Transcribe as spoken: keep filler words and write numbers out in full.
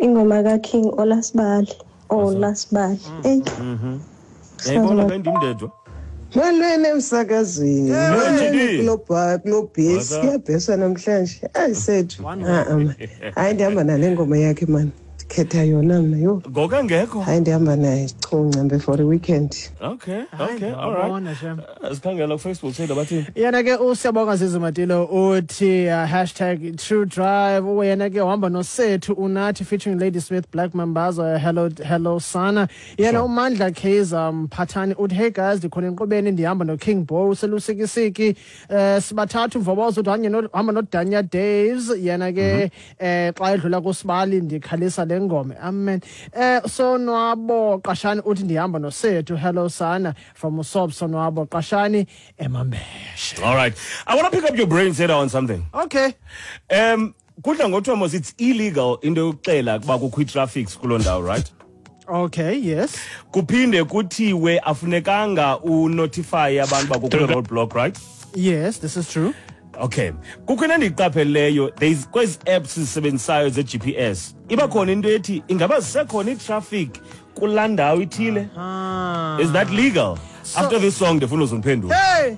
Ingoma kaKing Olasibali. Olasibali. Ey. Yayibona ke ndim ndedwa. Molweni emsakazweni. Molweni. Kulo bha kulo What's bhesi up? kuyabheswa namhlanje. Ayi sethu. Ah ah, man. Hayi, ndihamba nale ngoma yakhe man. Ndikhetha yona mna yho. Ngoku engekho. Hayi, ndihamba naye chunca for the weekend. Okay, Hayi, okay, all right. ndiyabona, shem. Sikhangela kuFacebook seyida bathini? Yena ke uSiyabonga Zizimatilo uthi uh, hashtag true drive. Yena ke uhamba noSethu Unathi featuring Lady Smith, Black Mambazo, "Hello Hello Sana". Yena Sure. uMandla Kaiser Mphathani uthi, "Hey guys, ndikhona enkqubeni, ndihamba noKing Bo selusikisiki, eh sibathathu." Mvobozo uthi hanye no- hamba noDanya Daves. Yena ke eh xa edlula kusibali ndikhalisa le ngoma, amen. eh sonwabo Qashani uthi ndihamba noSethu, "Hello Sana" from Usob Sonwabo Qashani eMambeshe. All right. I want to pick up your brain, Seda, on something. Okay. Um kudla ngothiwa mos it's illegal into yokuxela ukuba kukho ii-traffics kuloo ndawo, right? Okay, yes. Kuphinde kuthiwe afunekanga unotify abantu uba kukho i-roadblock, right? Yes, this is true. Okay, kukho into endiyiqapheleyo. There is kwezi apps zisebenzisayo ze-G P S, iba khona into ethi ingaba zisekhona itraffic kulaa ndawo ithile. Ah. Is that legal? After this song ndifuna uzondiphendula. Hey.